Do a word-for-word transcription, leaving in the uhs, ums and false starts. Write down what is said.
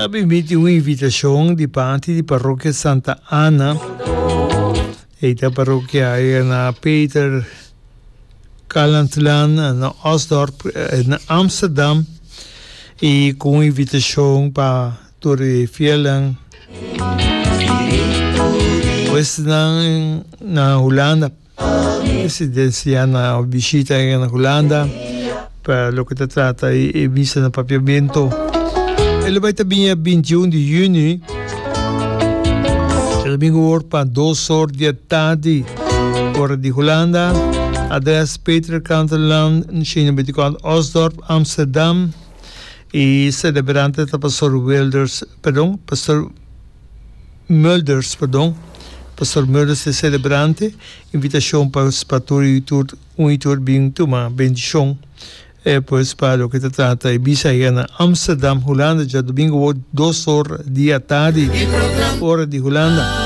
Ta bini un invitashon di parti di Parokia Santa Anna. E ta parokia na Pieter Calandlaan, na Osdorp, na Amsterdam. I ku invitashon pa tur fielnan. Pues na, na Hulanda. Residensia na bishita na Hulanda pa loke ta trata e misa na Papiamento. E ta bai ta bintiun di yüni, djadumingu, pa dos or di atardi, ora di Hulanda. Adres Peter Canterland, bintikuater, Osdorp, Amsterdam. I selebrante ta Pastor Wilders, perdon, Pastor Mulders, perdon. Pastor Mulders ta selebrante. Invitashon pa pa tur i tur un i tur bin tuma bendishon. E, pues pa loke ta trata e misa ei na Amsterdam, Hulanda, djadumingu dos or di atardi, ora di Hulanda.